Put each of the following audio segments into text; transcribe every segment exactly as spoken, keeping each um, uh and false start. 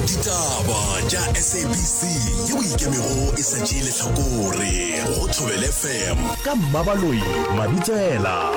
Ditaba tša S A B C yeo e ikemego e sa tšee lehlakore go Thobela F M ka Mmabaloi Mabitsela.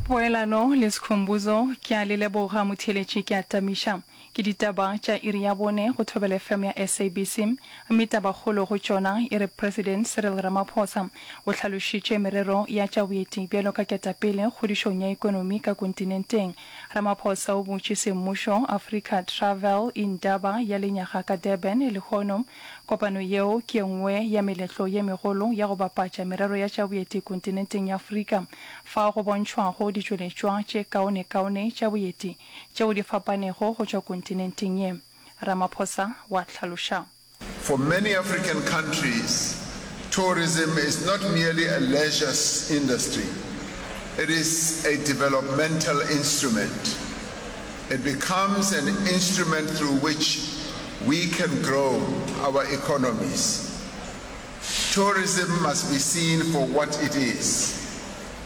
Poelano le Skhumbuzo, ke a le leboga motheeletši ke a tamiša. Ke ditaba tša iri ya bone go Thobela F M ya S A B C, mme tabakgolo go tšona e re President Cyril Ramaphosa o hlalošitše merero ya tša boeti bjalo ka ketapele kgodišong ya ekonomi ka kontinenteng. Ramaphosa o butše semmušo Africa Travel Indaba ya lenyaga ka Durban lehono. Kopano yeo ke ye nngwe ya meletlo ye megolo ya go bapatša merero ya tša boeti kontinenteng ya Afrika, fao go bontšhwago ditšweletšwa tše kaonekaone tša boeti tšeo di fapanego go tšwa kontinenteng ye. Ramaphosa wa hlaloša. For many African countries, tourism is not merely a leisure industry, it is a developmental instrument. It becomes an instrument through which we can grow our economies. Tourism must be seen for what it is,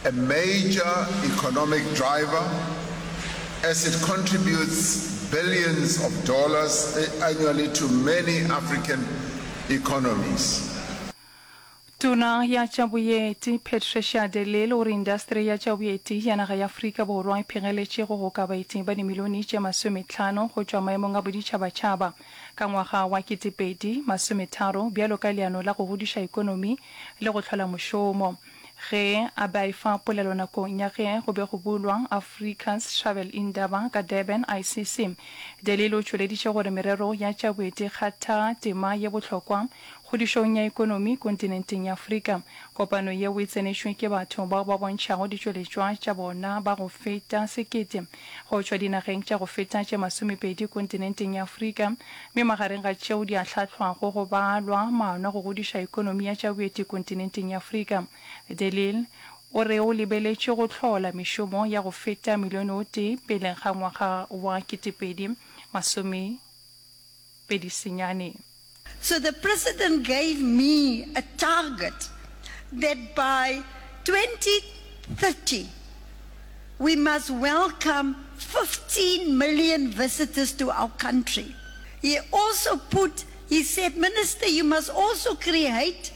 a major economic driver, as it contributes billions of dollars annually to many African economies. Tona ya tša Boeti Patricia de Lille o re indasteri ya tša boeti ya naga ya Afrika Borwa e phegeletše go goka baeti ba dimilione tše masometlhano go tšwa maemong a boditšhabatšhaba ka ngwaga wa ketepedi masometharo bjalo ka leano la go godiša ekonomi le go hlola mošomo. Ge a be a efa polelo nakong ya ge go be go bulwa Africa's Travel Indaba ka Durban, I C C, de Lille o tšweleditše gore merero ya tša boeti e kgatha tema ye bohlokwa kgodišong ya ekonomi kontinenteng ya Afrika. Kopano yeo e tsenetšwe ke batho bao ba bontšhago ditšweletšwa tša bona ba go feta sekete go tšwa dinageng tša go feta tše masomepedi kontinenteng ya Afrika, mme magareng ga tšeo di ahlaahlwago go balwa maano a go godiša ekonomi ya tša boeti kontinenteng ya Afrika. De Lille o re o lebeletše go hlola mešomo ya go feta milione o tee pele ga ngwaga wa ketepedi masomepedi senyane. So the president gave me a target that by twenty thirty we must welcome fifteen million visitors to our country. He also put, he said, "Minister, you must also create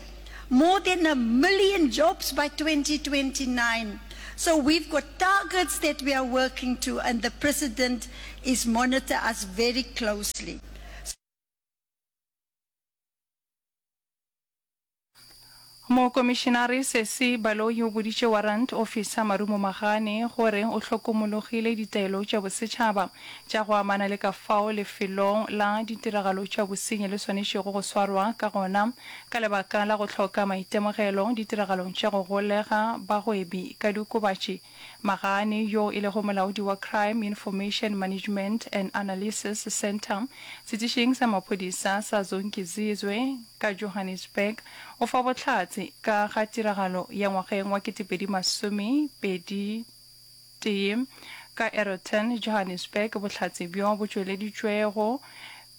more than a million jobs by twenty twenty-nine" So we've got targets that we are working to, and the president is monitor us very closely. Mokomišenare Sesi Baloyi o boditše Warrant Officer Marumo Magane gore o hlokomologile ditaelo tša bosetšhaba tša go amana le ka fao lefelong la ditiragalo tša bosenyi le swanetšego go swarwa ka gona ka lebaka la go hloka maitemogelo ditiragalong tša go golega bagwebi ka diokobatši. Magane, yo e lego molaodi wa Crime Information Management and Analysis Centre setišing sa maphodisa sa Zonkizizwe ka Johannesburg, o fa bohlatse ka ga tiragalo ya ngwageng wa ketepedi masome pedi tee ka Aeroton, Johannesburg. Bohlatse bjo bo tšweleditšwego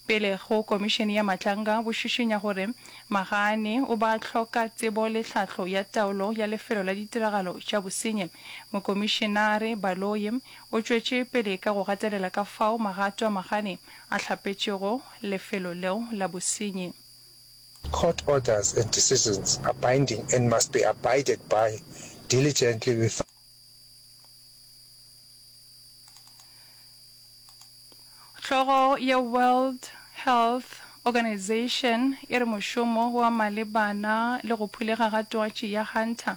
pele go Komišene ya Matlanga bo šišinya gore Magane o ba hloka tsebo le tlhahlo ya taolo ya lefelo la ditiragalo tša bosenyi. Mokomišenare Baloyi o tšwetše pele ka go gatelela ka fao magato a Magane a hlapetšego lefelo leo la bosenyi. Court orders and decisions are binding and must be abided by diligently without. Hlogo ya World Health Organization e re mošomo wa malebana le go phulega ga twatši ya Hunter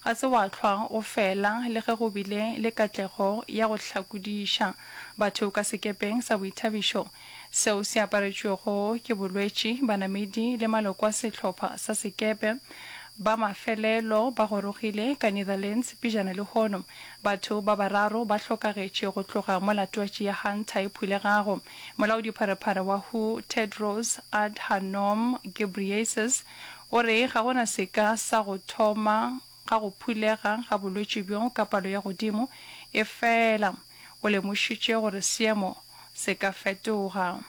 ga se wa hlwa o fela le ge go bile le katlego ya go hlakodiša batho ka sekepeng sa boithabišo seo se aparetšwego ke bolwetši. Banamedi le maloko a sehlopha sa sekepe ba mafelelo ba gorogile ka Netherlands pejana lehono. Batho ba bararo ba hlokagetše go tloga mola twatši ya Hunter e phulegago. Molaodipharephare wa W H O Tedros Adhanom Ghebreyesus o re ga go na seka sa go thoma ga go phulega ga bolwetši bjo ka palo ya godimo, efela o lemošitše gore seemo se ka fetoga.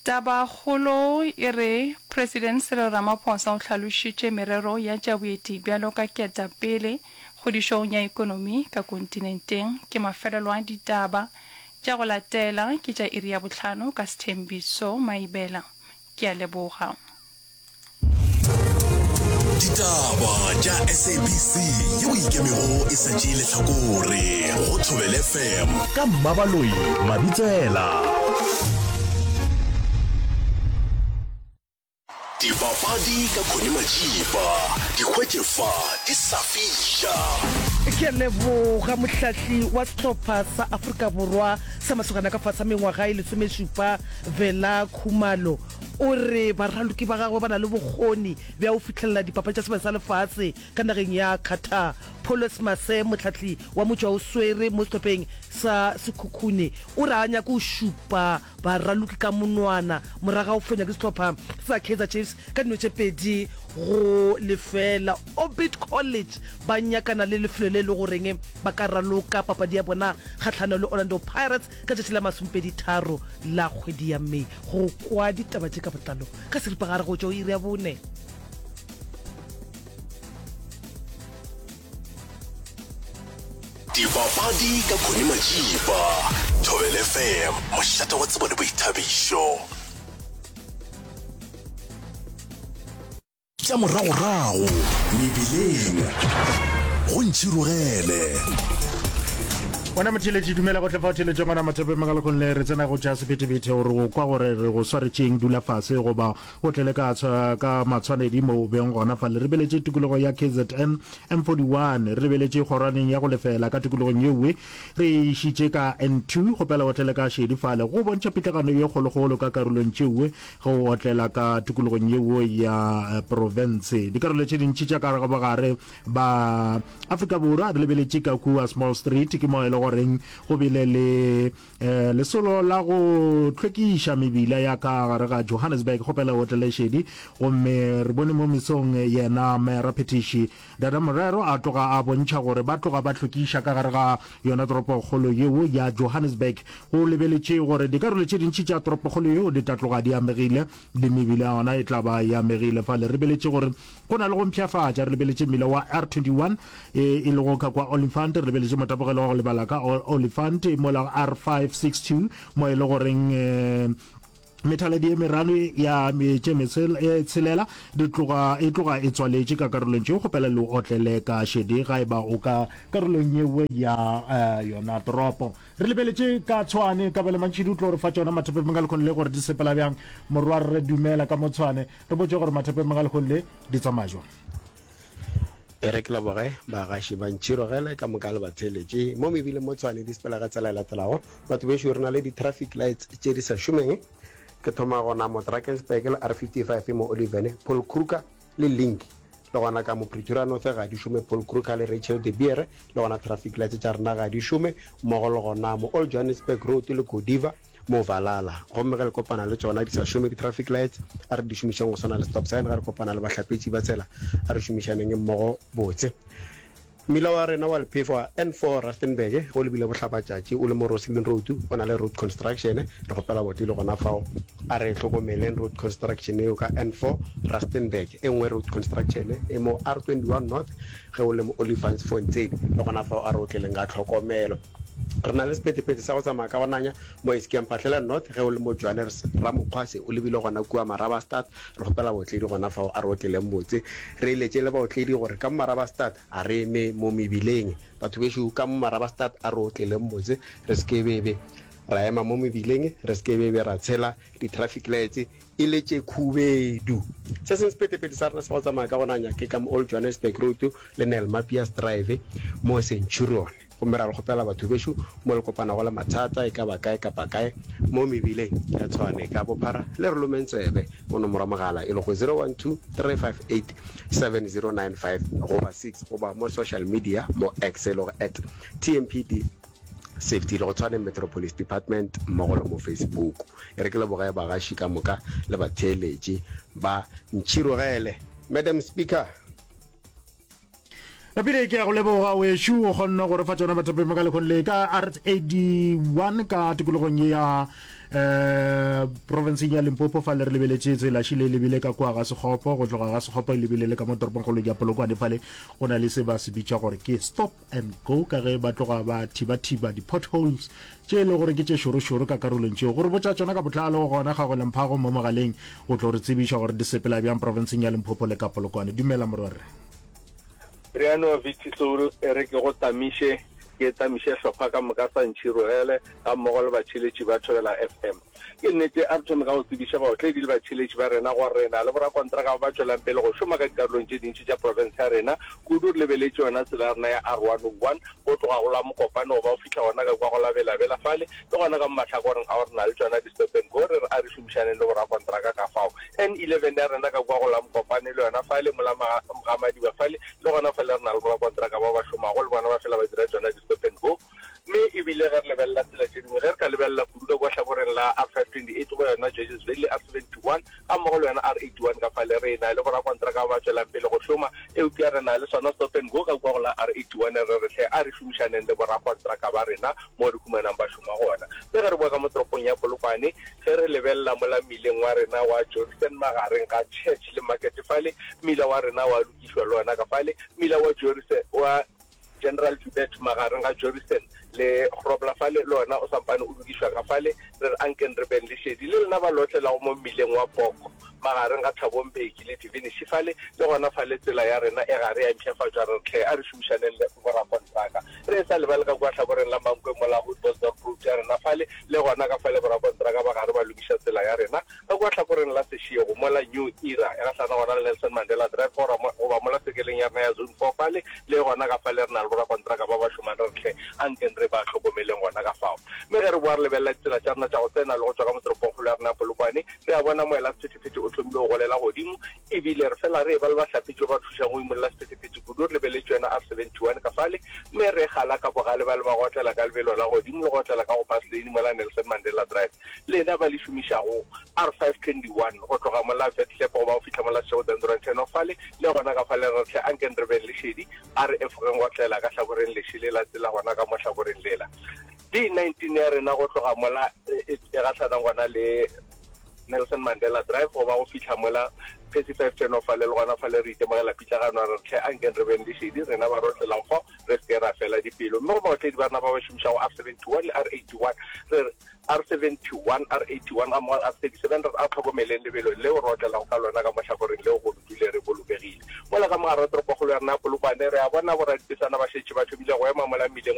Tabakgolo e re President Cyril Ramaphosa o hlalošitše merero ya tša boeti bjalo ka ketapele kgodišong ya ekonomi ka kontinenteng. Ke mafelelo a ditaba tša go latela ke tša iri ya bohlano ka Sthembiso Maibela. Ke a leboga. Ditaba tša S A B C yeo e ikemego e sa tšee lehlakore go Thobela F M ka Mmabaloi Mabitsela. Dipapadi ka Connie Majiba, di hwetše fa di sa fiša. Ke a leboga mohlahli wa sehlopha sa Afrika Borwa sa masogana ka fase ga mengwaga e lesomešupa Vela Khumalo o re baraloki ba gagwe ba na le bokgoni bja go fihlelela dipapadi tša Sebaka sa Lefase ka nageng ya Qatar. Paulus Mase mohlahli wa motšwaoswere mo sehlopheng sa Sekhukhune o re a nyake go šupa baraloki ka monwana morago ga go fenywa ke sehlopha sa Kaizer Chiefs ka dino tše pedi go lefeela. Orbit College ba nyakana le lefelo le e le goreng ba ka raloka papadi ya bona kgahlano le Orlando Pirates ka tšatši la masomepedi tharo la kgwedi ya May. Go kwa ditaba tše ka botlalo ka seripagare go tšwa go iri ya bone. Dipapadi ka Connie Majiba, Thobela F M, mošate wa tsebo le boithabišo. Tša moragorago mebileng go ntšhirogele. Wena motheeletši, dumela gohle fa o theeletše gona Mathapeng Magalekgong le re tsena go tša sephethephethe gore o kwa gore re go swaretšeng dula fase goba o tlele ka ka matshwanedi mo o beng gona fa le re beletše tikologo ya K Z N M forty-one re lebeletše kgorwaneng ya go lefela ka tikologong yewe re išitše ka N two kgopela o tlele ka šedi fale go bontšha pitlagano ye kgolokgolo ka karolong tšewe ge o otlela ka tikologong yeo ya profense. Dikarolo tše dintši tša ka bogare ba Afrika Borwa re lebeletše ka kua Small Street ke mo e le goreng go bile le eh, lesolo la go hlwekiša mebila ya ka gare ga Johannesburg kgopela o otlele šedi gomme re bone mo mesong yena mera phetiši Dada Morero a tloga a bontšha gore ba tloga ba hlwekiša ka gare ga yona toropokgolo yeo ya Johannesburg go lebeletše gore dikarolo tše dintši tša toropokgolo yeo di tla tloga di amegile le mebila ya yona e tla ba e amegile fale re lebeletše gore go na le go mpshafatša re lebeletše mmila wa R twenty-one e e lego ka kwa Olifant re lebeletše motapogelo wa go lebala ka Olifant mola R five sixty-two mo e le goreng eh, methaladi e merano ya tše e tshelela di tloga e tloga e tswaletše ka karolong tšeo kgopela le otlele ka šedi ga e ba o ka karolong yewe ya uh, yona toropo re lebeletše ka Tshwane Kabelo Mantšhidi o tlo re fa tšona mathapeng ka lekgone le gore di sepela bjang morwa re dumela ka mo Tshwane re botse gore mathapeng ka lekgone le di tsamaya jwang. E re ke leboge bagaši ba ntšhirogele ka moka le batheeletše mo mebileng mo Tshwane di sepela ka tsela e latelago. Batho bešo re na le di-traffic lights tše di sa šomeng. Ke thoma gona mo Drakensberg le R fifty-five mo Oliven, Paul Kruger le Link. Le gona ka mo Pretoria North ga di šome Paul Kruger le Rachel de Beer le gona traffic lights tša rena ga di šome mmogo le gona mo Old Johannesburg Road le Godiva mo Valhalla. Gomme ge le kopana le tšona di sa šome di-traffic lights a re di šomišeng go swana le stop sign ge re kopana le bahlapetši ba tsela a re šomišaneng mmogo botse. Mmila wa rena wa lephefo wa N four Rustenburg ge o lebile bohlapatšatši o le mo Roslyn Road o na le road construction re kgopela botlile gona fao a re hlokomeleng road construction eo ka N four Rustenburg. E nngwe road construction e mo R twenty-one North ge o le mo Olifantsfontein le gona fao a re otleleng ka tlhokomelo. Re na le sephethephethe sa go tsamaya ka go nanya mo Eskia Mphahlele North ge o le mo Johannes Ramokgwase o lebile gona kua Marabastad re kgopela botledi gona fao a re otleleng botse. Re eletše le baotledi gore ka mo Marabastad a re eme mo mebileng. Batho bešo ka mo Marabastad a re otleleng botse re se ke bebe ra ema mo mebileng re se ke bebe ra tshela di-traffic lights e le tše khubedu. Se sengwe sephethephethe sa rena sa go tsamaya ka go nanya ke ka mo Old Johannesburg Road le Nellmapius Drive mo Centurion. Gomme ra le kgopela batho bešo mo le kopanago le mathata e ka ba kae kapa kae mo mebileng ya Tshwane ka bophara le re lomeng tsebe mo nomoro ya mogala e lego zero one two, three five eight, seven zero nine five goba six goba mo social media mo X e lego at T M P D Safety le go Tshwane Metro Police Department mmogo le mo Facebook. E re ke leboge bagaši ka moka le batheeletši ba ntšhirogele. Madam Speaker. Napile ke ya go leboga wešo o kgonne go re fa tšona bathapeng ka lekgong le ka R eighty-one ka tikologong ye ya Um profenseng ya Limpopo fale re lebeletše tsela šile e lebile ka kua ga Sekgopo, go tloga ga Sekgopo e lebile le ka mo toropongkgolong ya Polokwane fale go na le se ba se bitša gore ke stop and go ka ge ba tloga ba thiba-thiba di-potholes tše e le gore ke tše šoro-šoro ka karolong tšeo. Go re botša tšona ka botlalo gona Kgagole Mphago mo mogaleng go tlo re tsebiša gore di sepela bjang profenseng ya Limpopo le ka Polokwane. Dumela morwarre. Riano Vicki Soul e re ke go tamiše, ke tamiše hlopha ka moka sa Ntšhirogele ga mmogo le batšheletši ba Thobela F M. Ke nnete, a re thome ka go tsebiša baotledi le batšheletši ba rena gore re na le borakontraka ba ba tšwelang pele go šoma ka dikarolong tše dintši tša profense ya rena, kudu re lebeletše yona tsela ya rena ya R one oh one go tloga go la Mokopane go ba go fihla gona ka kua go la Bela-Bela fale le gona ka mo mahlakoreng ao re na le tšona di-stop and go, re re a re šomišaneng le borakontraka ka fao. N eleven ya rena ka kua go la Mokopane le yona fale mola Ga-Madiba fale le gona fale re na le borakontraka bao ba šomago le bona ba fela ba dira tšona di-stop and go. Mme e bile ge re lebelela tsela tše dingwe, ge re ka lebelela kudu ka kua hlakoreng la R five twenty eight goba yona Georges Valley R seventy one gammogo le yona R eighty one ka fale re na le borakontraka ba ba tšwelang pele go šoma, eupša re na le sona stop and go ka kua go la R eighty one re re hle a re šomišaneng le borakontraka ba rena mo re humanang ba šoma gona. Mme ge re boa ka mo toropong ya Polokwane, ge re lebelela mola mmileng wa rena wa Jorissen magareng ga Church le Market fale, mmila wa rena wa lokišwa le wona ka fale, mmila wa Jorissen wa General Joubert magareng ga Jorissen le Grobler fale, le wona o sampane o lokišwa ka fale. Re re ankeng re beng le šedi le lena ba lotlelago mo mmileng wa Poko magareng ga Thabo Mbeki le Divinishi fale, le gona fale tsela ya rena e gare ya mpshafatšwa. Re re hle a re šomišaneng le borakontraka. Re e sa lebale ka kua hlakoreng la Mankwe mola Hoedbosdorp Road ya rena fale, le gona ka fale borakontraka ba gare ba lokiša tsela ya rena. Ka kua hlakoreng la Seshego mola New Era e gahlana gona le Nelson Mandela Drive gora goba mola sekeleng ya rena ya Zone Four fale, le gona ka fale re na le borakontraka ba ba šomang re re hle ankeng re ba hlokomeleng gona ka fao. Mme ge re boa re lebelela ditsela tša rena tša go tsena le go tšwa ka mo toropongkgolo ya rena ya Polokwane, re a bona moela sephethephethe o thomile go golela godimo, e bile re fela re eba le bahlapetši ba ba thušang go imolla sephethephethe kudu. Re lebeletše yona R seventy one ka fale, mme re gala ka bogale ba le ba go otlela ka lebelo la godimo le go otlela ka go bus lane mola Nelson Mandela Drive. Lena ba le šomišago R five twenty one go tloga mola Vetlep go ba go fihla mola Seshego-Dendron Turn-off fale, le gona ka fale re re hle ankeng re beng le šedi, a re efogeng go tlela ka hlakoreng leše le la tsela gona ka mo hlakoreng lela. D nineteen ya rena go tloga mola e gahlanang gona le Nelson Mandela Drive go ba go fihla mola Percy five Turn-off fale, le gona fale re itemogela pitlagano, a re hle ankeng re beng le šedi rena ba re otlelang fao re se ke ra fela dipelo. Mme go baotledi ba rena ba ba šomišago R seventy one le R eighty one re re, R seventy one, R eighty one gammogo le R thirty seven, re a hlokomeleng lebelo leo re otlelago ka lona ka mo hlakoreng leo gore dule re bolokegile. Mola ka mo gare ga toropokgolo ya rena ya Polokwane, re a bona boradipesana ba šetše ba thomile go ema mola mmileng wa